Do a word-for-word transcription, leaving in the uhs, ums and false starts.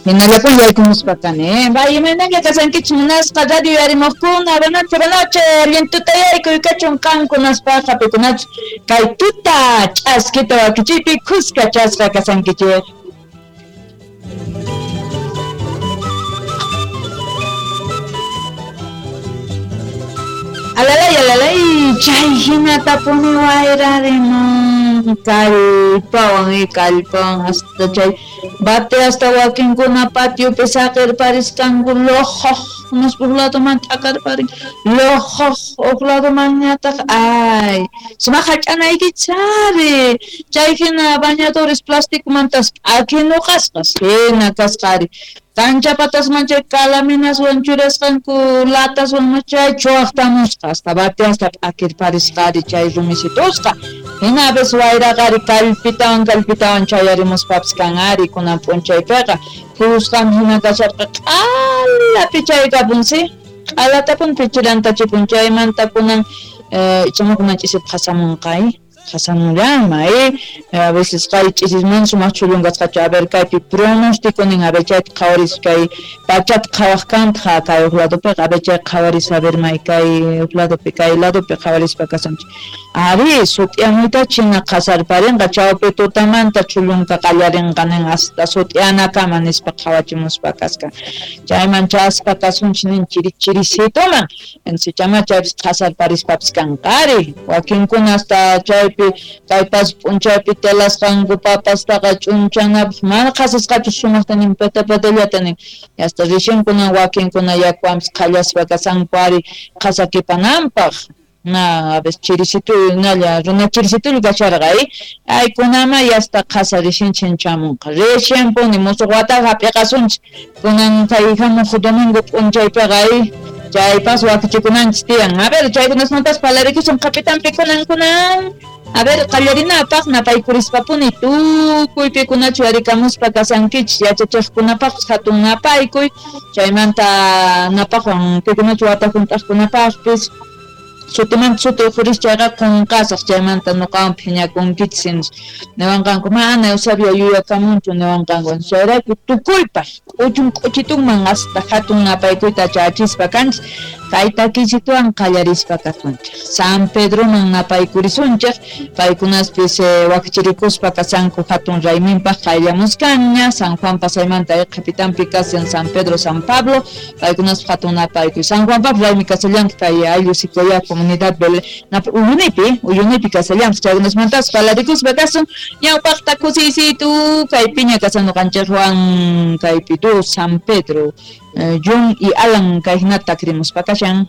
Hinallapun yaykumuspa kani, eh? Imaynalla kasankichik munasqa radio yarimuqkuna, buenas noches, buenas noches, allin tuta yaykuy kachun qankunaspaqa pikunachus kay tuta ch'askita wakichiypi khuska chasqa kasankichik. Alalay, alalay, chay hinatapuni wayrarimun kallpawan y kallpawan hasta chay bate hasta wakinkuna patiopi saqirparisqanku lojoq nispa huk ladoman t'akarparin lojoq huk ladomanñataq ay sumaq hach'anaykichari chay hina bañadores plasticomantas p'akinuqasqas hina kasqari cancha patasman chay calaminaswan churasqanku lataswan chay chuwaqtamusqa hasta bate hasta p'akirparisqari chay rumisitusqa hina a veces wayraqari kallpitawan kallpitawan chayarimuspapis kanari kunan p'unchaypiqa phusqam hina kasharqa q'ala pichaykapunsi q'alatapun pichirantachipun chaymanta kunan ichaqa kunan ch'isipi qasamunqa qasamunllama eh a veces kay ch'isisman sumaq chhullunqasqachu a ver kaypi pronóstico nin a ver chayta qhawaris kay pachata qhawaq kantaq kay huk ladopiqa a ver chay qhawaris a ver may kay huk ladopi kay ladopi qhawarispa kasanchik ari sut'iyamuyta china qasarparinqa chawpi tutamanta chhullunka qallarinqa nin hasta sut'iyanakama nispa qhawachimuspa kasqa chayman chaspa kasunchik nin chiri chirisituman entonces chaypis qasarparispapis kanqari wakinkuna hasta chay kay p'unchaypi telasqanku papastaqa ch'unchanapaq mana qhasasqachu sumaqta nin pata patallata nin hasta recién wakinkuna yakuwanpis qhallaspa kasanku ari qhasakipananpaq na a veces chirisitu nalla runa chirisitulla kasharqa eh ay kunama hasta qhasa recién chamunqa recién puni musuq wataqa hap'iqasunchik kunan kay hamuq domingo p'unchaypiqa eh chaypas wakichikunanchik tiyan a ver chaykunasmantas parlarikusun qapitanpi kunan kunan a ver qallarinapaq napaykurispa-puni tukuy pikunachu yarikamuspa kasankichik yachachiqkunapaqpis hatun napaykuy chaymanta napaqwan pikunachu wata hunt'aqkunapaqpis sutimanta suti uqhuris chayqa qunqasaq chaymanta nuqawan phiñakunkichik niwanqanku mana Eusebio yuyakamunchu niwanqanku chayrayku tukuypaq k'uchun k'uchitunman hasta hatun napaykuyta chachispa kanchik kay takisituwan qallarispa kasunchik San Pedroman napaykurisunchik paykunaspis wakichirikuspa kasanku hatun rayminpaq qayllamuskanña San Juan pasaymanta qhipitanpi kasan San Pedro San Pablo paykunaspa hatun napaykuy San Juanpaq raymi kasallantaq kay ayllu Sicoya comunidad Uyunipi Uyunipi kasallantaq chaykunasmantas parlarikuspa kasun ñawpaqta kusiysitu kaypiña kasan ñuqanchikwan kaypi tu San Pedro John y Alan kay hinata takrimuspa kashan.